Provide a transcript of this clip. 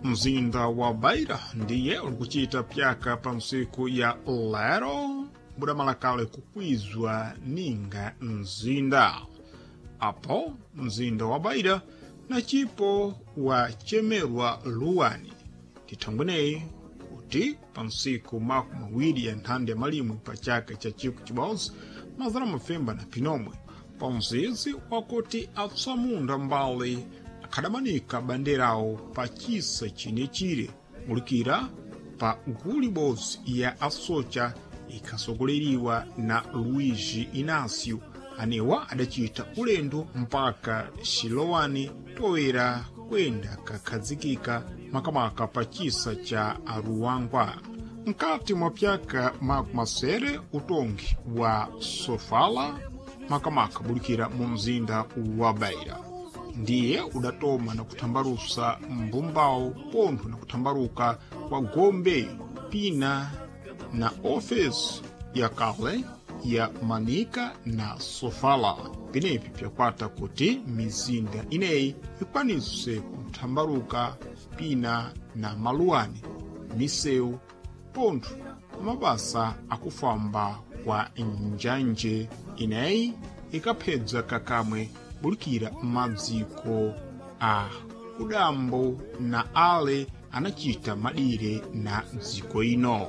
Mzinda wa Beira ndiye ulikuchita pyaka pa msiku ya lero budamalakale kukwizwa ninga mzinda. Apo mzinda wa Beira na cipo wachemerwa luwani tithangweneyi kuti pa msiku 20 ya nthanda ya malimwe pa chaka cha 1971 pa mzizi wakuti atsamunda mbali akhadamanika banderawo pa chisa chinechire mulikira pa gulu ibodzi ya asocha ikhasogoleriwa na Luigi Inácio, anewa adacita ulendo mpaka Xilowani toera kwenda kakhazikika makamaka pa chisa cha Aruangwa. Mkati mwa pyaka makumasere utongi wa Sofala makamaka bulikira mu mzinda wa Beira ndiye udatoma na kuthambalusa mbumbawo pontho na kuthambaluka kwa gombe pina na ofesi ya kale ya Manica na Sofala. Penepi pyakwata kuti mizinda ineyi ikwanise kuthambaluka pina na maluwani, misewu pontho mabasa akufamba kwa njanje ineyi ikaphedza kakamwe bulikira madziko a kudambo na ale anachita madire na dziko ino.